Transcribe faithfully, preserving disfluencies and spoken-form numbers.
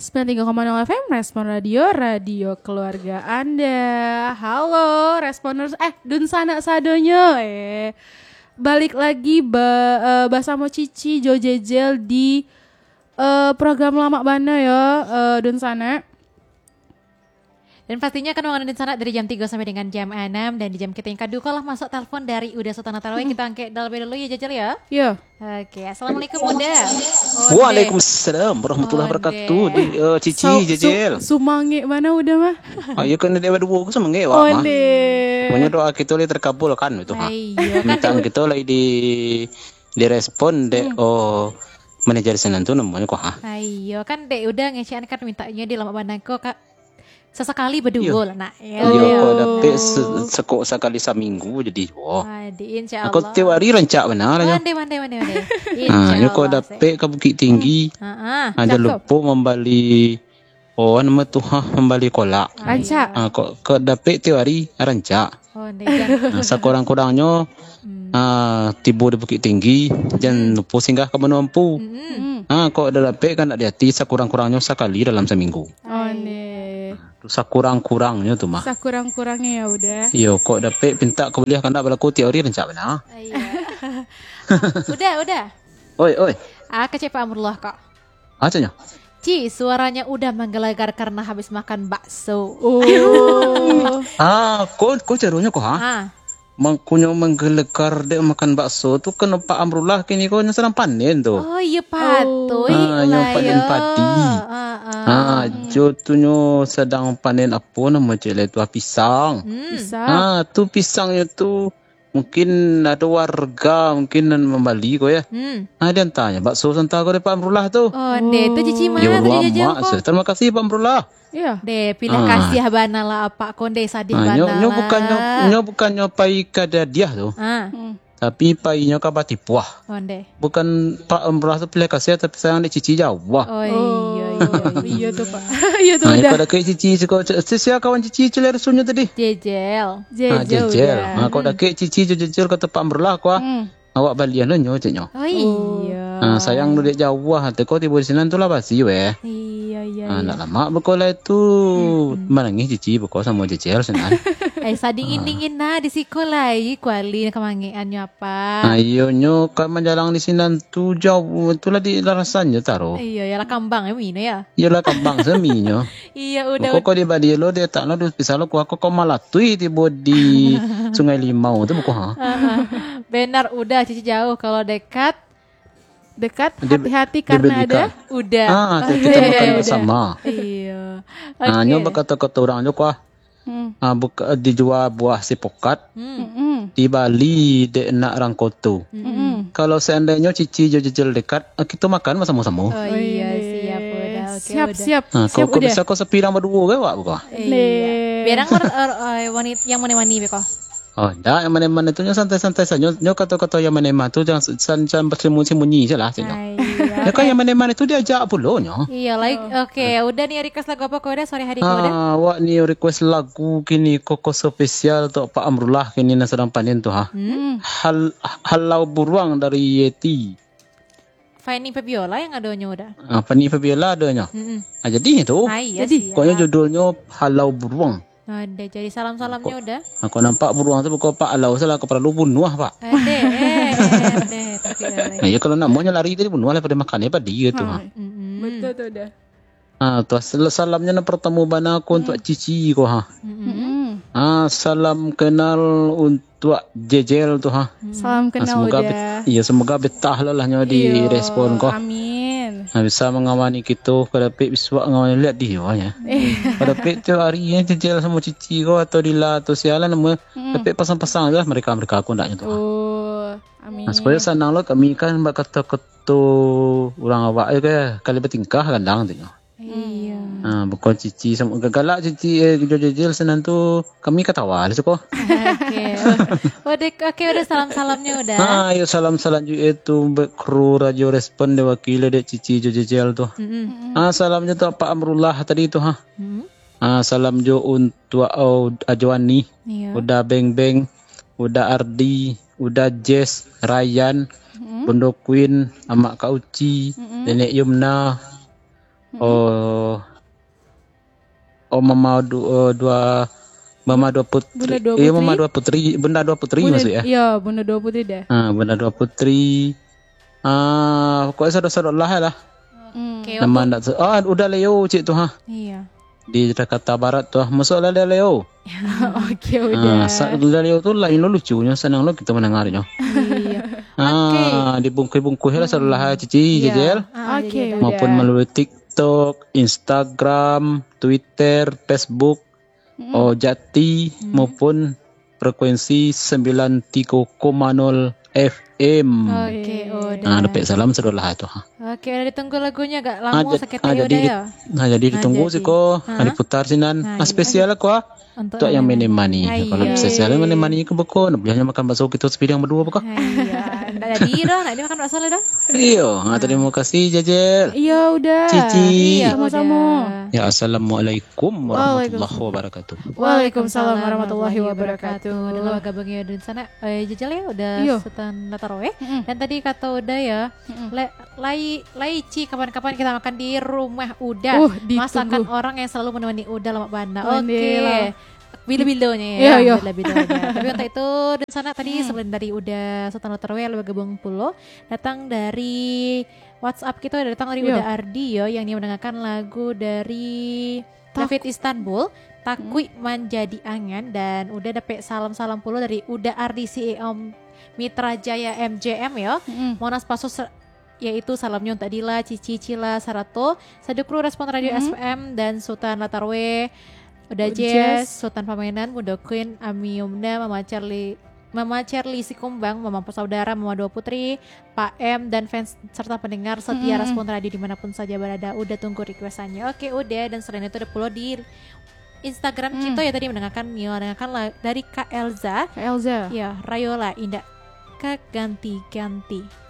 Sembilan tiga koma nol F M, Respon Radio, radio keluarga Anda. Halo, Responers, eh, dunsanak sadonyo, eh. Balik lagi ba-, eh, basamo Cici jo Jejel di, eh, program Lamak Bana yo, eh, dunsanak. Dan pastinya akan mangandung sanak dari jam tigo sampai dengan jam enam, dan di jam kita yang kedua lah masuk telepon dari Uda Sultan Tarawih. Kita angkat terlebih dulu ya, Jajal ya. Yo. Oke, assalamualaikum Uda. Onde. Waalaikumsalam warahmatullahi wabarakatuh. Onde. Di, eh, Cici, Jajal. Sumangik mana Uda mah? Ah, ya kan dia berdua ke sumangik wak mah. Onde. Pokoknya doa kita lah terkabulkan itu ha. Ayo, kan. Bintang kita lah di direspon dek, hmm, oh, manajer sinan tu namonyo ko ha. Ayo, kan dek Uda ngecek kan mintanyo di Lamak Bana ko, Kak. Sasakali baduo lah nak. Iyo, kok dapek se-, sekok sakali saminggu jadi juo. Adi, insya Allah. Aku tiap hari rancak bana lah nyo. Mande, mande, mande, mande. Ah, nyo kok dapek ka Bukittinggi. Ah, ah. Ah, jan lupo mambali, oh, nama tu ha, mambali kolak. Rancak. Ah, kok, kok dapek tiap hari rancak. Oh, ndai jan. Ah, sakurang-kurangnyo, hmm, ah, tibo di Bukittinggi, jan, hmm, lupo singgah ka Banua Ampu. Hmm. Ah, kok dak dapek kan dak di ati, sakurang-kurangnyo sakali dalam saminggu. Oh, ndai. Tu sakurang-kurangnyo tu mah. Sakurang-kurangnyo ya Uda. Iyo, kok dapek pintak ka buliah kandak balaku tiok ari rancak bana. Iyo. Uda, Uda. Oi, oi. Ah, kecek Pak Amrullah kok. Apo nyo? Ci, suaronyo Uda manggelegar karena habis makan bakso. Oh. Ah, ko, ko caronyo ko ha? Ha. Mangkonyo manggelegar dek makan bakso tu, kena Pak Amrullah kini ko nyo sadang panen tu. Oh, iyo, patuik. Ah, yang lah panen yo. Padi. Ah, ah. Ah, jo tu nyo sadang panen apo namo cek lai tu, ah, pisang. Hmm. Pisang. Ah, tu pisangnyo tu mungkin ado warga mungkin nan mambali ko ya. Hmm. Ah, diantanyo bakso santa ko dek Pak Amrullah tu. Oh, ndeh, tu Cici mah. Yo, tu Jajal ko. Terima kasih Pak Amrullah. Iyo. Deh, pilah kasiah bana lah apak ko, ndeh, sadih bana lah. Nyo, nyo bukannyo, nyo bukannyo pai ka dadiah tu. Ah. Hmm. Tapi painyo ka batipuah. Oh, ndeh. Bukan Pak Amrullah tu pilah kasiah, tapi sayang dek Cici jauah. Oh, iyo, iyo, iyo. Iyo tu, Pak. Iyo tu, Uda. Nah, iko dakek Cici, siko, si-, sia kawan Cici, cilai rusunyo tadi? Jejel. Ah, Jejel, Jejel. Uda. Ah, kok dakek Cici jo Jejel ka tempat Amrullah ko, ah. Hmm. Awak balian lo nyo, cek nyo. Oh, iyo. Ah, sayang tu dek jauah, teko tibo di sinan tu lah basi weh. Iyo, iyo, ah, iyo. Ndak lamak beko lai tu. Hmm, hmm. Manangih Cici beko samo Jejel sinan. Eh, sadingin-dingin nah di siko lai, kuali kamangeannyo apa. Ah, iyo nyo ka manjalang di sinan tu jauah, tu lah di larasan jo taro. Iyo, yo lah kambang yo mino yo. Iyo lah kambang saminyo. Iyo, Uda. Kok, kok di badi lo, di atak lo, di pisah lo, kuah kok, kok malatui tibo di Sungai Limau tu, buko ha. Benar, Uda, Cici jauh. Kalau dekat, dekat, hati-hati karena ada Uda. Ah, tu kita makan bersama. Iyo. Ah, nyo bakato-kato urang jo kuah. Hmm. Ah, buka, dijua buah sipokat, hmm, dibali dek nak rangko tu. Hmm. Kalau seandainyo Cici jo Jejel dekat, ah, kito makan basamo-samo. Oh, iyo, siap, Uda. Oke, siap, Uda. Siap. Ah, siap, kok, kok Uda. Bisa kok sapirang baduo ke, Wak, buka? Iyo. Biar yang, eh, eh, wanit-, yang mani-mani beko. Oh, ndak, yang mani-mani tu nyo santai-santai sajo. Nyo kato-kato yang mani-mani tu jangan s-, san-, san bersembunyi-sembunyi je lah, caknyo. Ai, iyo. Ya kan, yang mani-mani tu diajak pulo nyo. Iyo, like, oke, Uda ni request lagu apa ko Uda sore hari ko Uda? Ah, awak ni request lagu kini koko spesial untuk Pak Amrullah kini nan sadang panen tu ha. Hmm. Hal-, Halau Buruang dari Yeti. Fanny Fabiola yang adonyo Uda. Ah, Fanny Fabiola adonyo. Mm-mm. Ah, jadi tu. Ah, iyo, jadi. Siap. Pokoknyo judulnyo Halau Buruang. Ada, jadi salam-salamnyo Uda. Kok, ah, kok nampak buruang tu buko Pak Alau salah, kok paralu bunuah, Pak. Ada, eh, ada, tapi ada. Nah, ya kalau namonyo lari tadi bunuah lah pada makan ya padi gitu, ha. Mm-mm. Betul tu Uda. Ah, tu sal-, salamnyo nan pertama bana ko untuk Cici ko ha. Mm-mm. Ah, salam kenal untuk Jejel tu ha. Salam kenal Uda. Ah, semoga bet-, iya, semoga betah lah lah nyo di respon ko. Amin. Ah, bisa mangawani kito, ka dapek bisuak ngawani liak di yo nya. Ka dapek tiap hari nyo Jejel samo Cici ko atau Dila atau sialan nama. Mm-mm. Dapek pasang-pasang je lah mereka-mereka ko ndaknyo tu ha. Oh, amin. Nah, supaya sanang lo kami kan bak kato-kato urang awak je kan, kali batingkah gandang tu nyo. Iya. Ha, bukan Cici samo, galak Cici, eh, jo Jejel sinan tu, kami katawa lah suko. Oke. Oh, dek, oke, Uda salam-salamnyo Uda. Ha, yo salam-salam juga tu, be-, kru Radio Respon diwakili dek Cici jo Jejel tu. Mm-mm. Ha, salam jo tu Pak Amrullah tadi tu, ha. Mm-mm. Ha, salam jo untuk, oh, Ajo Ani, iya. Uda Beng Beng, Uda Ardi, Uda Jess, Ryan, mm-mm. Bundo Queen, Amak Kak Uci, mm-mm. Nenek Yumna, Oh. Oh, mama du-, oh, dua, mama dua putri. Bunda dua putri. Iyo, mama dua putri, bunda dua putri maksud ya? Iyo, bunda dua putri dah. Ha, bunda dua putri. Ah, pokoknya sadok-sadok lah lah. Hmm. Oke, nama untuk ndak se-, ah, Uda Leo cik tu ha. Iya. Di Jakarta Barat tu ha. Masuk lah Uda Leo. Oke, Uda. Ah, sa-, Uda Leo tu lain lo lucunyo, sanang lo kita mendengarnyo. Iya. Ah, oke. Dibungkus-bungkus lah sadok lah Cici, Iya. Jejel. Ah, Oke, jadi Uda. Maupun melalui TikTok, Instagram, Twitter, Facebook, Mm-mm. Oh Jati Mm. maupun frekuensi sembilan tiga koma nol F M. Oke, Uda. Nah, dapek salam sadok lah tu ha. Oke, Uda ditunggu lagunya agak Ah, lamo jad-, saketek ah, ya, jadi Uda di-, ya. Nah, jadi Ah, ditunggu jadi. siko, Ah. ah, diputar sinan. Nah, Ah, iya. spesial aku ah. Untuk Untuk yang yang menemani. menemani. Ah, Kalau iya. spesial yang menemani ke beko, nak boleh makan bakso kita sepidang berdua beko. Ah, iya. Ndak jadi dah, nak dia makan bakso lah dah. Iyo, ah, terima kasih Jejel. Iya, Uda. Cici. Iya, sama-sama. Uda. Ya, assalamualaikum warahmatullahi Waalaikumsalam. wabarakatuh. Waalaikumsalam warahmatullahi wabarakatuh. Uda lah gabung ya di sana. Eh, Jejel ya, Uda Iyo. Sutan Latarwe. Mm-mm. Dan tadi kata Uda ya, Mm-mm. le-, lai, lai Ci, kapan-kapan kita makan di rumah Uda. Uh, ditunggu. Masakan orang yang selalu menemani Uda lamak bana. Pandai Oke. lah. Bilo-bilonya ya. Iya, iya. Bilo-bilonya. Tapi untuk itu, dan sana tadi Hmm. selain dari Uda Sutan Latarwe yang bergabung pulo, datang dari WhatsApp kita, datang dari Iya. Uda Ardi yo, yang dia mendengarkan lagu dari David Istanbul, Takuik Hmm. Manjadi Angan, dan Uda dapek salam-salam pulo dari Uda Ardi C E O Mitra Jaya M J M yo. Mm-mm. Monas Paso se-, yaitu salamnya untuk Dila, Cici, Cila, sarato sadukru Respon Radio Mm-mm. S P M dan Sutan Latarwe, Uda Uda Jazz, Jazz. Sutan Pamenan, Bunda Queen, Ami Yumna, Mama Charlie, Mama Charlie Sikumbang, Mama Saudara, Mama Dua Putri, Pak M, dan fans serta pendengar setia Mm-mm. Respon Radio dimanapun saja berada. Uda tunggu requestannya. Oke, Uda. Dan selain itu ada pulo di Instagram Mm. kita ya tadi mendengarkan, Mio mendengarkan la-, dari Kak Elza. Kak Elza. Ya, Rayola Indak Ka Ganti-Ganti.